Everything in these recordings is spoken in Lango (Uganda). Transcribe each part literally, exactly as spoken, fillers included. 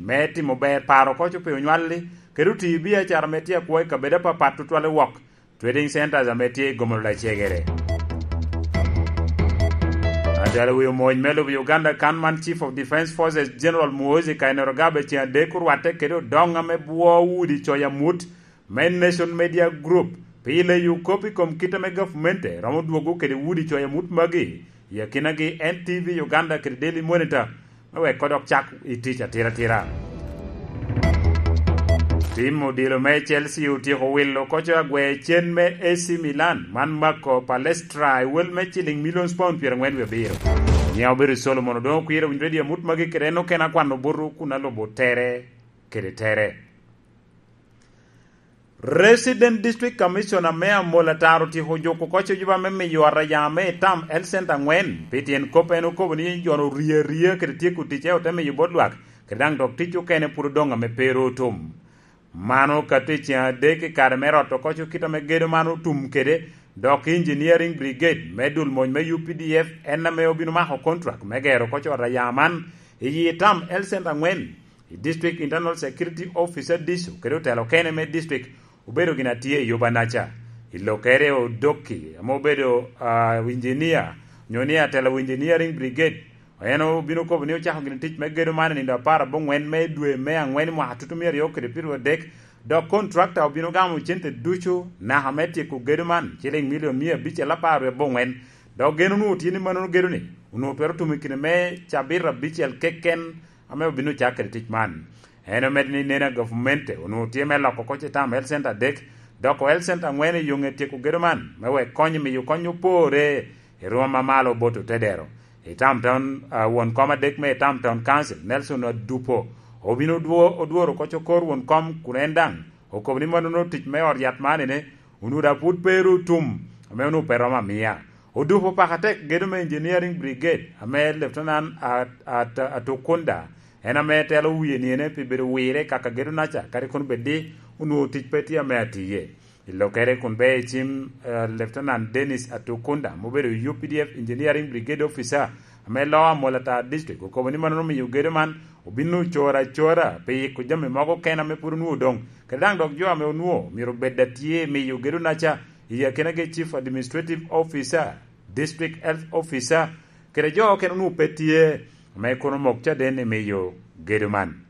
me timo ber paro koco pi onywalli, kede oti i biacara ame tye akwo i kabedo apapat tutwal i wok trading centers ame tye i Gomolo Lacegere. Atwal wi omony me lobo Uganda kan man Chief of Defence Forces General Muhoozi Kainerugaba ceŋ adek orwatte kede odoŋ ame bwo udi coc amut me Nation Media Group pi leyo kop i kom kit ame gavumenti romo dwogo kede udi coc amut magi i akinagi N T V Uganda kede Daily Monitor me wek odok cak i tic atiratira. Tim odilo me Chelsea otyeko wilo koco agwe cen me A C Milan man mako Palestra i wel me ciliŋ millions pound pyerangwen wie abiro. Nyiŋ obedo Solomon Odongo Kwir, owinyo redio amut magi kede en okene akwano buto kun alubo tere kede tere. Resident District Commissioner me Amol Atar otyeko juko oko cojuba me miyo araya me itam health center angwen pi tyen kop en okobo ni jo-nu orie aria kede tyeko ticce ote miyo bot lwak kede daŋ dok tic okene pwod odoŋ ame pe ru otum. Mano okato i ceŋ adek i kare me roto oko co kit ame gedo man otum kede, dok Engineering Brigade me dul mony me U P D F en ame obino mako contract me gero oko co araya man i yi itam health center angwen. I District Internal Security Officer Diso kede otelo okene me district obedo gin atye i Yubanaca. I lokere Odoki ame obedo uh, engineer nyo ni atelo Engineering Brigade, en obino kobo ni ocako gin tic me gedo man i nindo apar abongwen me dwe me angwen i mwaka tutu mia aryo kede pyeraryo adek, dok contractor obino gamo cente ducu naka me tyeko gedo man ciliŋ milion mia abicel apar abongwen. Dok gen onwoŋo tye ni mannono gedo ni onwoŋo twero tumo i kine me cabit abicel keken ame obino cak kede tic man. En omedo ni neno a gavumenti onwoŋo tye me loko oko citam health center adek, doko health center angwen i yoŋe tyeko gedo man me wek kony miyo kony opore i rwom amalo bot otedero. I Tamton, uh, won kom adek me Tamton Council, Nelson Adupo, obino odwo-, odworo oko cokor won kom kun en daŋ okobo ni mannono tic me ot yat man ene onwoŋo daŋ pwod pe ru otum, ame onwoŋo pe romo amia. Odupo paka tek gedo me Engineering Brigade ame Lieutenant At-, At-, Atukunda en ame telo wie niene pi bedo wire i kaka gedo naca, kadi kono bed di onwoŋo tic pe tye ame atiye. I lokere kun be i cim, eh, Lieutenant Dennis Atukunda, ma obedo U P D F Engineering Brigade Officer, ame loo Amol Atar District, okobo ni mannono omiyo gedo man obino coro acora pi yiko jami mogo kena ame pwod onwoŋo odoŋ, kede daŋ dok jo ame onwoŋo myero obed a tye miyo gedo naca i akinagi Chief Administrative Officer, District Health Officer, kede jo okene onwoŋo pe tye, ame kono omok caden i miyo gedo man.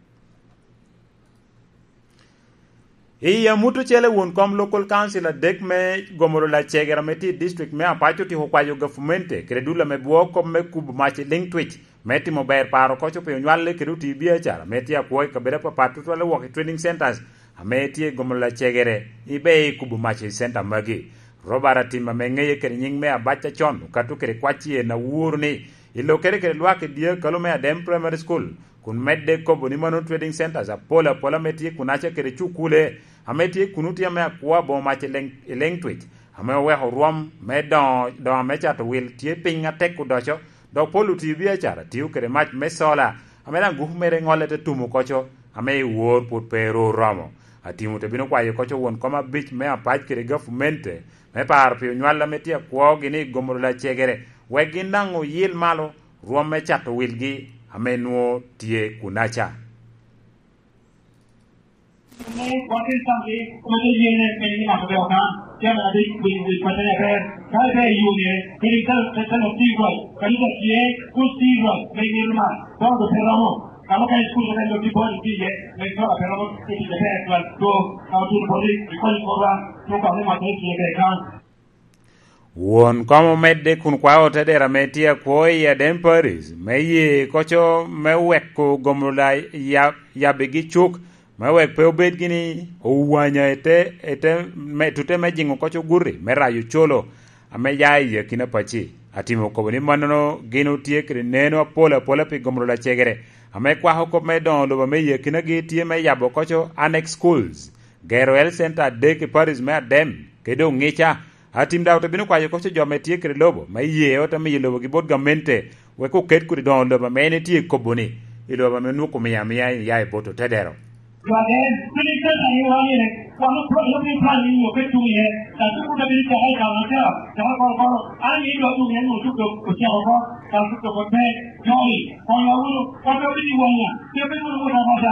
I amut ocele won kom Local Council adek me Gomolo Lacegere ame tye i district me Apac otyeko kwayo gavumenti kede dul ame bwo kop me kubo mac i liŋ twic me timo ber paro koco pi onywalli kede oti biacara ame tye akwo i kabedo apapat tutwalle wok i trading centers ame tye i Gomolo Lacegere ibe i kubo mac i center magi. Robert Atim ame ŋeye kede nyiŋ me Abac acon okato kede kwac i en aworo ni i lokere kede lwak i dye akalo me Adem Primary School, kun medde kobo ni mano trading centers apol apol ame tye kunaca kede cukule ame tye kuno tye ame akwo aboŋo mac i leŋ, i leŋ twic, ame oweko rwom me doŋo, doŋo me cato wil tye piny atek odoco, dok pol oti biacara tio kede mac me sola, ame daŋ gupu mere ŋolle te tumo koco, ame i wor pwod pe ru oromo. Atimo te bino kwayo koco won kom abic me Apac kede gavumenti me paro pi onywal ame tye akwogi ni Gomolo Lacegere, wek gin daŋ oyil malo rwom me cato wilgi ame nwoŋo tye kunaca. Ame wakin tamgi, kode yene pe ni ŋat obedo kan, cen adi wic wic patte aber, ka ibe i yune, kadi ka, ka, ka lok tir rwac, kadi ka tye, kus tir rwac, me ŋil man, dok ote romo, ka mukene cukul mukene dok tye bot itye iye, me cola pe romo, pe tic aber twal, dok, ka otuno boti, ikonyo korwa, tuko ni ŋat me tye kede kan. Won kom omedde kun kwao otedero ame tye akwo i Adem Parish me ye koco me weko Gomolo la ya-, yabbigi cuk, me wek pe obed gini owanya ete, ete me, tute me jiŋo koco guti me rayo colo ame ya i akina paci. Atimo kobo ni mannono gin otye kede neno apol apola pi Gomolo Lacegere, ame kwako kop me doŋo lobo ame i akinagi tye me yabo koco annex schools, gero health center adek i Parish me Adem, kede oŋica. Atim daŋ ote bino kwayo koco jo ame tye kede lobo me ye ote miyo lobogi bot gamente, wek oket kodi doŋo lobo ame en etye kobo-ni, i lobo ame onwoŋo omio amia iya i bot otedero. Lwak en, piny Catan i wan ine, wan opwonyo piny plan ni nyo pe tuŋ iye, dok pe kuta bino caka i kare matek, caka koro koro, an ni dwa tuŋ iye nyo tuko ocako oko, dok tuko oko pe, joni, konyo wunu, wan pe obino i wanya, pe obino wunu wot amoca.